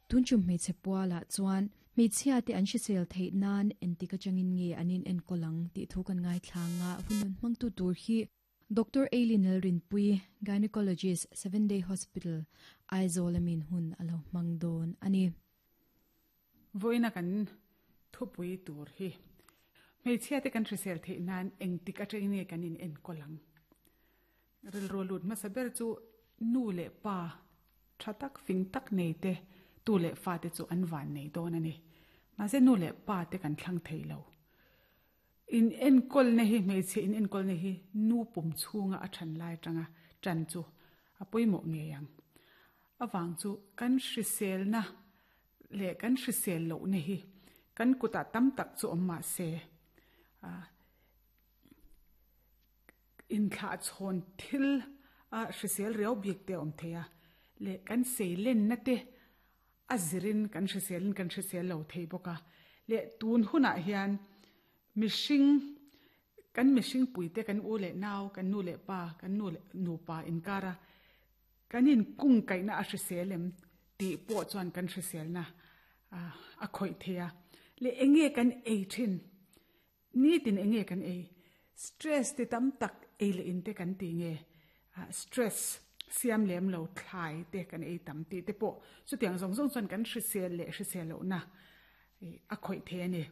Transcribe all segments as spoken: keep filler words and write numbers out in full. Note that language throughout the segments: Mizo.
Tunchum hmeichhe pualah chuan hmeichhia te an hrisel theih nan engtik atangin nge an in enkawl ang tih thu kan ngaithlanga hun hmangtu tur hi Doctor Eileen Lalrinpui, gynecologist, Seven Day Hospital, Aizawl amin hun alo hmang dawn ani. Voina kan thupui tur hi hmeichhia te kan hrisel theih nan engtik atangin nge kan in enkawl ang. Rilru lut hmasa ber chu nu leh pa tha tak fing tak nei te tu leh fa te chu an van nei dawn ani. Mahse nu leh pa te kan thlang thei lo. In enkawl na hi hmeichhe in enkawl na hi nu pum chhunga a than lai tanga chan chu a pawimawh ngei ang. Awang chu kan hrisel na leh kan hrisel loh na hi kan kutah tam tak chu awm mah se a in thlah chhawn thil a hrisel riau bik te awm thei a leh kan seilen na te a zirin kan hriselin kan hrisel lo thei bawk a leh tun hunah hian mihring kan mihring puite kan u leh nau kan nu leh pa kan nu leh nupa inkara kan in kung kaihna a hrisel em tih pawh chuan kan hrisel na a khawih thei a leh enge kan ei thin ni tin enge kan ei stress te tam tak ei leh in te kan ti nge stress siam lem lo thlai te kan ei tam tih te pawh chutiang zawng zawng chuan kan hrisel leh hrisel loh na a khawih thei ani.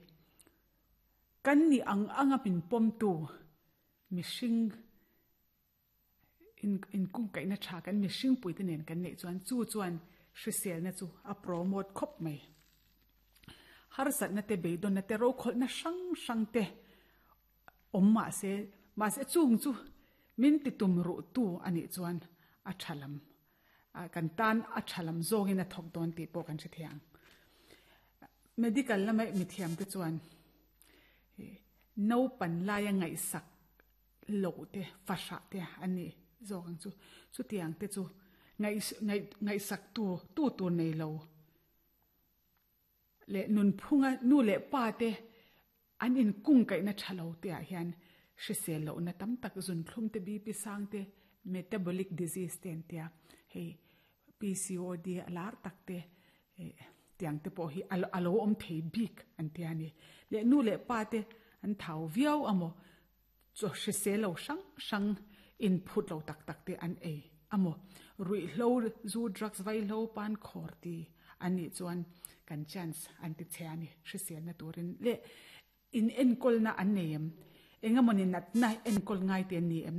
Kan ni ang anga min pawm tu mihring in in kung kaihna tha kan mihring puite nen kan neih chuan chu chuan hrisel na chu a promote khawp mai. Harsat na te beidawng na te ro khawlh na hrang hrang te awm mah se mahse chung chu min ti tum ruh tu anih chuan a thalam kan tan a thalam zawngin a thawk dawn tih pawh kan hre thiang. Medical lama mithiam te chuan no pan laia ngaihsak loh te fahrah te ani zawk ang chu chutiang te chu ngai ngai ngaihsak tu tu tur nei lo leh nun phunga nu leh pa te an in kung kaihna thalo te ah hian hrisel loh na tam tak zun thlum te B P sang te metabolic disease te an tia hei P C O D alar tak te tiang te pawh hi alo awm thei bik an tia ni leh nu leh pa te an thau viau amo chaw hrisel lo hrang hrang in phut lo tak tak te an ei amo ruih hlo zu drugs vai hlo pan khawr ti ani chuan kan chance an ti che ani hrisel na turin leh in enkawl na an nei em engamawni natna enkawl ngai te an ni em.